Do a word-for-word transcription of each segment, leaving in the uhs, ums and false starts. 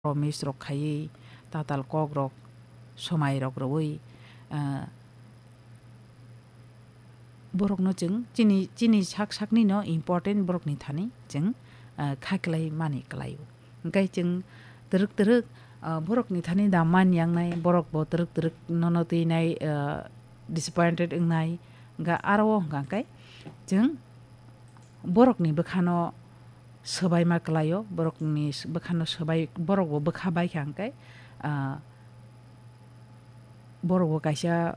promise rok khaiwi, tatal kok rok, swmai rok rwui, ah, borokno chwng chini, chini sak sakni no important borokni thani chwng, ah, kha kwlai mani kwlaio. Hwnkhe chwng twrwk twrwk, ah, borokni thani da man yangnai, borok bo twrwk twrwk nono twinai, ah, disappointed wngnai, hwnkhe aro o hwnkha khe chwng borokni bwkhano swbaima kwlaio, borokni s-, bwkhano swbai, borok bo bwkha baikha hwnkhe, ah, borok bo kaisa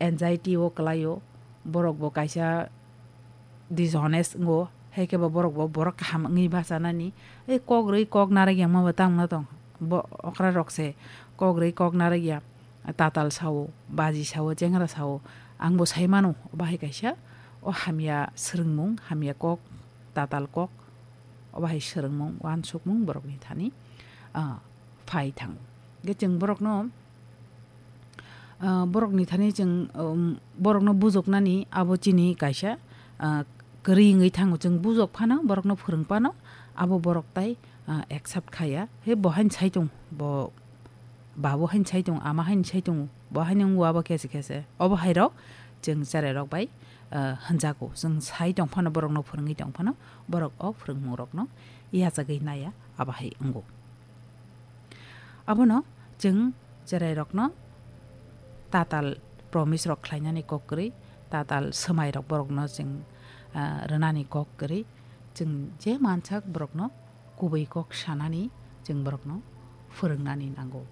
anxiety o kwlaio, borok bo kaisa dishonest wngo, hai khe bo borok bo borok kaham wngwi bachanani. Ei kok rwi kok narwk ya ma bo tamo tong, bo okra rok se kok rwi kok narwk ya. Tatal sao, baji sao, chengra sao, ang bo sai mano, obo hai kaisa o hamya swrwngmung, hamya kok, tatal kok, obo hai swrwngmung, uansukmung borokni thani, ah, phai thango. Hwnkhe chwng borokno, ah, borokni thani chwng, um, borokno bujoknani abo chini kaisa, ah, kwrwi wngwi thango. Chwng bujok phano, borokno phwrwng phano, abo borok tai, ah, accept khaya. He bo haino sai tong, bo Babo haino sai tongo, ama haino sai tongo, bo haino wngo abo khe se khe se. Obo hai rok chwng cherai rok bai, ah, hwnjago. Chwng sai tong phano, borok no phwrwngwi tong phano, borok o phwrwngmung rok no yachagwi naiya, abo hai wngo. Abono chwng cherai rok no tatal promise rok khlainani kok kwrwi, tatal swmai rok borok no chwng, ah, rwnani kok kwrwi, chwng je mansak borok no kubui kok sanani chwng borokno phwrwngnani nango.